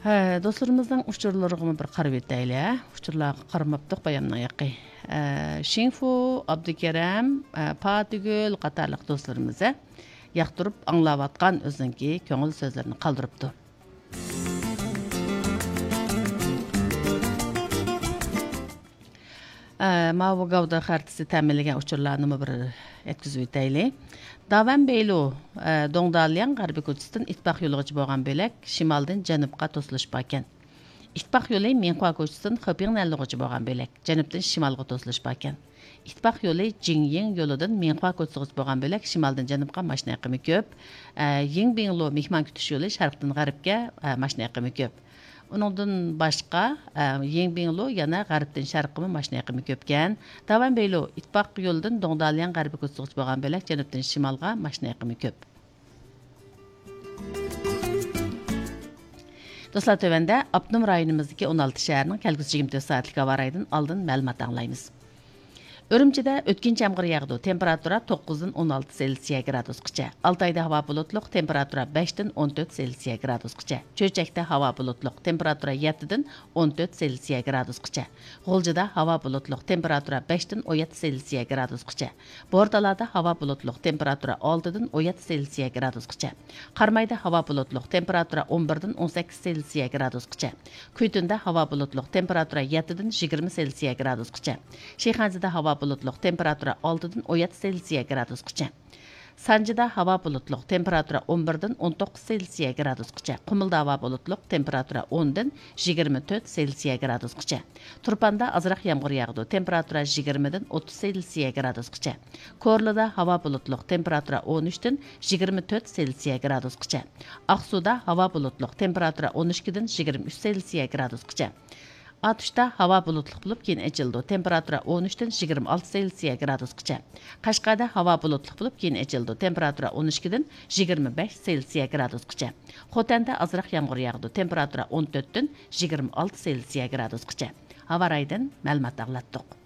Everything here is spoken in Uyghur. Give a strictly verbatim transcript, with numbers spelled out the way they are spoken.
ھە، دوستلىرىمىزنىڭ ئۇچۇرلىرىغىمۇ بىر قارىۋېتەيلى، ھە. ئۇچۇرلارغا قارىماپتۇق بايامنىڭ يېقى. ئە، شىڭفۇ، ئابدۇكېرەم، ئە، پاتىگۈل قاتارلىق دوستلىرىمىز، ھە، ياقتۇرۇپ ئاڭلاۋاتقان ئۆزىنىڭكى كۆڭۈل سۆزلىرىنى قالدۇرۇپتۇ. ئە، ماۋۇ گاۋدا خەرىتىسى تەمىنلىگەن ئۇچۇرلارنىمۇ بىر يەتكۈزۈۋېتەيلى. داۋەن بېيلۇ، ئە، دۇڭدالياڭ غەربىي كوچىسىدىن ئىتتىپاق يولىغىچە بولغان بۆلەك شىمالدىن جەنۇبقا توسۇلۇش باركەن. ئىتتىپاق يولى مىڭخۇا كوچىسىدىن خېپىڭنەنلۇغىچە بولغان بۆلەك جەنۇبتىن شىمالغا توسۇلۇش باركەن. ئىتتىپاق يولى جىڭيىڭ يولىدىن مىڭخۇا كوچىسىغىچە بولغان بۆلەك شىمالدىن جەنۇبقا ماشىنا ئېقىمى كۆپ. ئە، يىڭبىڭلۇ مېھمان كۈتۈش يولى شەرقتىن غەربكە، ئە، ماشىنا ئېقىمى كۆپ. ئۇنىڭدىن باشقا، ئە، يىڭبىڭلۇ يەنە غەربتىن شەرققىمۇ ماشىنا ئېقىمى كۆپكەن. داۋەن بېيلۇ ئىتتىپاق يولىدىن دۇڭدالياڭ غەربىي كوچىسىغىچە بولغان بۆلەك جەنۇبتىن شىمالغا ماشىنا ئېقىمى كۆپ. دوستلار، تۆۋەندە ئاپتونوم رايونىمىزدىكى ئون ئالتە شەھەرنىڭ كەلگۈسى يىگىرمە تۆت سائەتلىك ھاۋا رايىدىن ئالدىن مەلۇمات ئاڭلايمىز. ئۈرۈمچىدە ئۆتكۈنچى يامغۇر ياغىدۇ. تېمپېراتۇرا توققۇزدىن ئون ئالتە سېلسىيە گرادۇسقىچە. ئالتايدا ھاۋا بۇلۇتلۇق، تېمپېراتۇرا بەشتىن ئون تۆت سېلسىيە گرادۇسقىچە. چۆچەكتە ھاۋا بۇلۇتلۇق، تېمپېراتۇرا يەتتىدىن ئون تۆت سېلسىيە گرادۇسقىچە. غۇلجىدا ھاۋا بۇلۇتلۇق، تېمپېراتۇرا بەشتىن ئون يەتتە سېلسىيە گرادۇسقىچە. بورتالادا ھاۋا بۇلۇتلۇق، تېمپېراتۇرا ئالتىدىن ئون يەتتە سېلسىيە گرادۇسقىچە. قارامايدا ھاۋا بۇلۇتلۇق، تېمپېراتۇرا ئون بىردىن ئون سەككىز سېلسىيە گرادۇسقىچە. كۈيتۇندا ھاۋا بۇلۇتلۇق، تېمپېراتۇرا يەتتىدىن يىگىرمە سېلسىيە گرادۇسقىچە. شىخەنزىدە ھاۋا بۇلۇتلۇق، تېمپېراتۇرا ئالتىدىن ئون يەتتە سېلسىيە گرادۇسقىچە. سانجىدا ھاۋا بۇلۇتلۇق، تېمپېراتۇرا ئون بىردىن ئون توققۇز سېلسىيە گرادۇسقىچە. قۇمۇلدا ھاۋا بۇلۇتلۇق، تېمپېراتۇرا ئوندىن يىگىرمە تۆت سېلسىيە گرادۇسقىچە. تۇرپاندا ئازراق يامغۇر ياغىدۇ، تېمپېراتۇرا يىگىرمىدىن ئوتتۇز سېلسىيە گرادۇسقىچە. كورلىدا ھاۋا بۇلۇتلۇق، تېمپېراتۇرا ئون ئۈچتىن يىگىرمە تۆت سېلسىيە گرادۇسقىچە. ئاقسۇدا ھاۋا بۇلۇتلۇق، تېمپېراتۇرا ئون ئىككىدىن يىگىرمە ئۈچ سېلسىيە گرادۇسقىچە. ئاتۇشتا ھاۋا بۇلۇتلۇق بولۇپ، كېيىن ئېچىلىدۇ، تېمپېراتۇرا ئون ئۈچتىن يىگىرمە ئالتە سېلسىيە گرادۇسقىچە. قەشقەردە ھاۋا بۇلۇتلۇق بولۇپ، كېيىن ئېچىلىدۇ، تېمپېراتۇرا ئون ئىككىدىن يىگىرمە بەش سېلسىيە گرادۇسقىچە. خوتەندە ئازراق يامغۇر ياغىدۇ، تېمپېراتۇرا ئون تۆتتىن يىگىرمە ئالتە سېلسىيە گرادۇسقىچە. ھاۋا رايىدىن مەلۇمات ئاڭلاتتۇق.